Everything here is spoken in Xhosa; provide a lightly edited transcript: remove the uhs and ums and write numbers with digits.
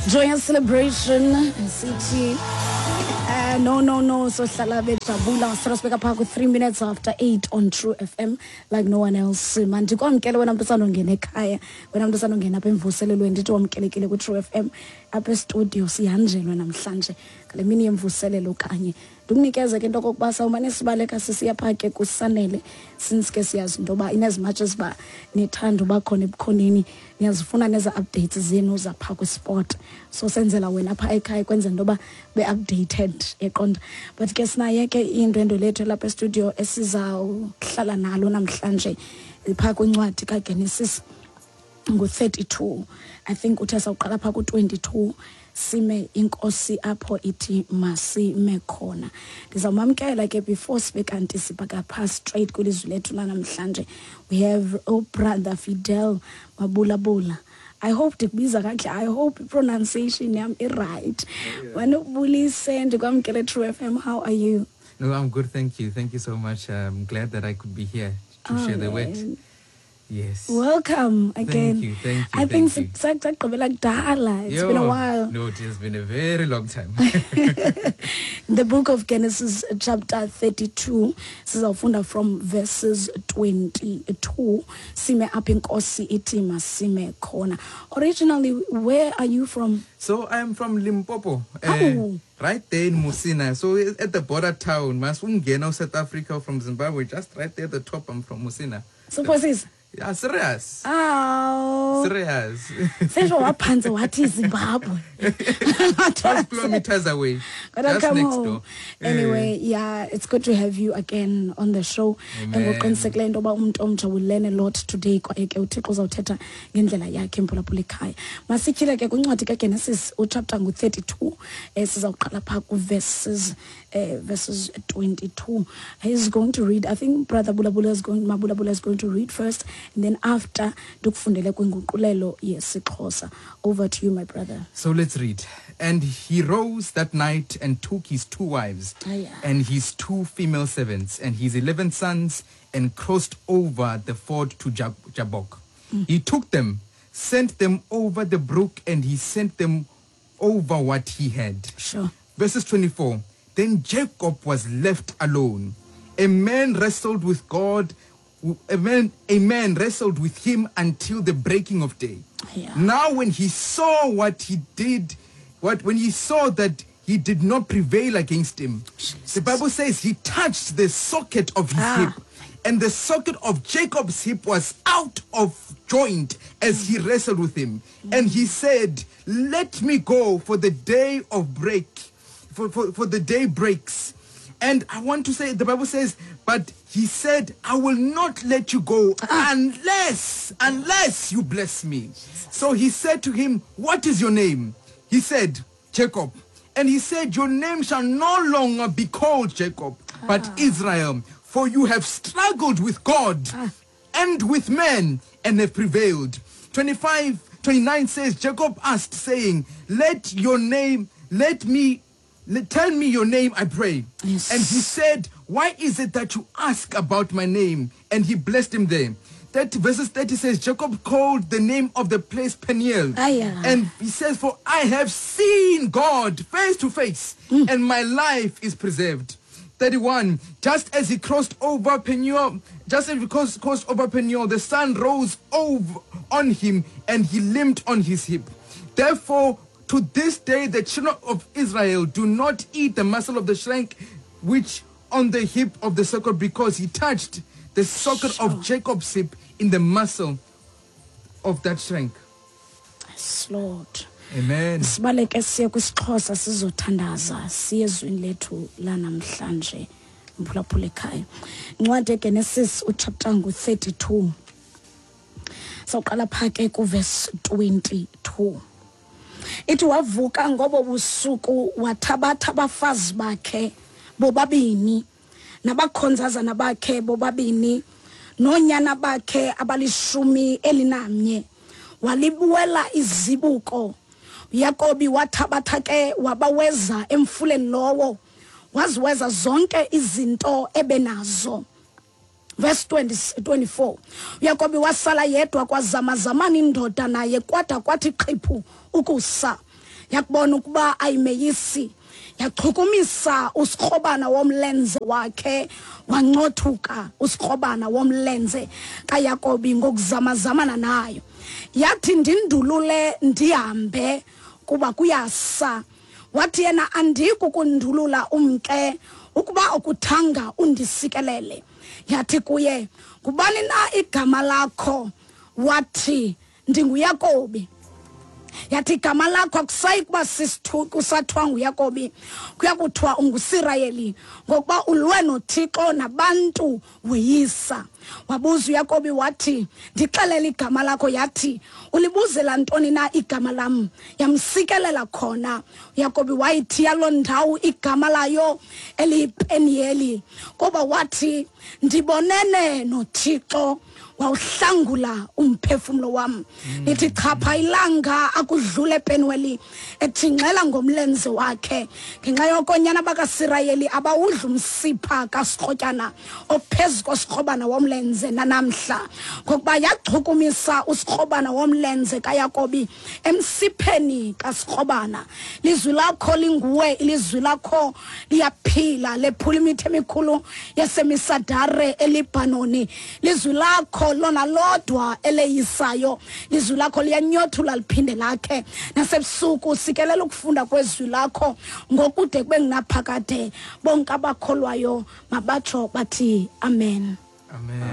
Joyous celebration sithi no no no, sohlala bejabula. Sibeka phaa ku-3 minutes after 8 on True FM like no one else. Mandikwamkele wena mntu usandongena ekhaya, wena mntu usandongena apha emvuselelweni, ndithi wamkelekile kwi-True FM. Apha estudio sihanjelwe namhlanje ngale mini yemvuselelo kanye. Ndikunikeze ke into okokuba sawumane sibaleka sisiya phaa ke kuSanele, since ke siyazi into yoba in as much as uba nithanda uba khona ebukhoneni, niyazifuna neza updates zenu zaphaa kwisport, so senzela wena phaa ekhaya kwenzela into yoba be-updated, eqonda. But ke sinaye ke indwendwe lethu lapha estudio esizawuhlala nalo namhlanje phaa kwincwadi kaGenesis ngu-32. I think uthe sawuqala phaa ku-22, sime inkosi apho ithi masime khona. Ndizawumamkela ke before sibe kanti sibhaka phaa straight kwilizwi lethu lanamhlanje. We have uBrother Fidel Mabulabula. I hope ndikubiza kakuhle, I hope i-pronunciation yam i-right. Manokubulise, ndikwamkele True FM. How are you? No, I'm good, thank you. Thank you so much. I'm glad that I could be here to share the word. Man. Yes. Welcome again. Thank you, thank you. I think thank you. Sagqibela kudala. It's been a Yo, while. No, it has been a very long time. The book of Genesis chapter 32, sizawufunda from verses 22, sime apha inkosi ithi masime khona. Originally, where are you from? So I'm from Limpopo. Oh. Right there in Musina. So at the border town, masungena South Africa from Zimbabwe, just right there at the top, I'm from Musina. Suppose. Yeah, serious. Oh. Serious. Sesho waphantse wathi Zimbabwe. 12 kilometers away. Gotta Just come next home. door. Anyway, yeah, it's good to have you again on the show. Amen. Ngokuqinisekileyo into yoba umntu omtsha will learn a lot today, kwaye ke uThixo uzawuthetha ngendlela yakhe, mphulaphula ekhaya. Masityhile ke kwincwadi kaGenesis uchapter ngu-32, sizawuqala phaa ku-verses verses 22. He's going to read, I think Brother Bulabula is going, Mabulabula is going to read first, and then after ndikufundele kwinguqulelo yesiXhosa. Over to you, my brother. So let's read. And he rose that night and took his 2 wives and his 2 female servants and his 11 sons and crossed over the ford to Jabbok. He took them, sent them over the brook, and he sent them over what he had. Sure. Verses 24. Then Jacob was left alone. A man wrestled with God. A man wrestled with him until the breaking of day. Yeah. Now when he saw what he did, when he saw that he did not prevail against him, Jesus. The Bible says he touched the socket of his hip, and the socket of Jacob's hip was out of joint as he wrestled with him. And he said, let me go, for the day of break, for the day breaks. And I want to say, the Bible says, but he said, I will not let you go unless you bless me. So he said to him, what is your name? He said, Jacob. And he said, your name shall no longer be called Jacob, but Israel, for you have struggled with God and with men and have prevailed. 29 says, Jacob asked, saying, tell me your name, I pray. Yes. And he said, why is it that you ask about my name? And he blessed him there. Verses 30 says, Jacob called the name of the place Peniel. And he says, for I have seen God face to face, and my life is preserved. 31, just as he crossed over Peniel, the sun rose over on him, and he limped on his hip. Therefore, to this day, the children of Israel do not eat the muscle of the shank, which on the hip of the socket, because he touched the socket of Jacob's hip in the muscle of that shank. Yes, Lord. Amen. Sibaleke siye kwisiXhosa sizothandaza siye ezwini lethu lanamhlanje, mphulaphula ekhaya. Incwadi yeGenesis uchapter ngu-32. Sawuqala phaa ke kuverse 22. Ithi wavuka ngobo busuku wathabatha abafazi bakhe bobabini nabakhonzazana bakhe bobabini noonyana bakhe abali-11, walibuwela izibuko. Yakobi wathabatha ke wabaweza emfuleni lowo, waziweza zonke izinto ebenazo. Verse 24. Yakobi wasala yedwa kwazamazamana indoda naye kwada kwathi qhiphu ukusa. Yakubona ukuba ayimeyisi, yachukumisa usikrobana womlenze wakhe, wancothuka usikrobana womlenze kaYakobi ngokuzamazamana nayo. Yathi, ndindulule ndihambe, kuba kuyasa. Wathi yena, andikukundulula umke ukuba ukuthanga undisikelele. Yathi kuye, ngubani na igama lakho? Wathi, ndinguYakobi. Yathi, igama lakho akusayi kuba kusathiwa nguYakobi, kuya kuthiwa unguSirayeli, ngokuba ulwe noThixo nabantu weyisa. Wabuza uYakobi wathi, ndixelele igama lakho. Yathi, ulibuzela ntoni na igama lam? Yamsikelela khona. uYakobi wayithiya loo ndawo igama layo eliyiPeniyeli, kuba wathi, ndibonene noThixo, wawuhlangula umphefumlo wam. Lithi chapha ilanga akudlule ePenueli, ethingxela ngomlenze wakhe. Ngenxa yoko nyana bakaSirayeli abawudla umsipha kasikrotyana ophezu kosikrobana womlenze nanamhla, ngokuba yachukumisa usikrobana womlenze kaYakobi emsipheni kasikrobana. Lizwi lakho linguwe, ilizwi lakho liyaphila, lephula imithi emikhulu yasemisadare eLibhanoni. Lizwi lakho lona lodwa eleyisayo, lizwi lakho liyanyothula liphinde lakhe. Nasebusuku sikelela ukufunda kwezwi lakho ngokude kube ngunaphakade. Bonke abakholwayo mabatsho bathi amen. Amen.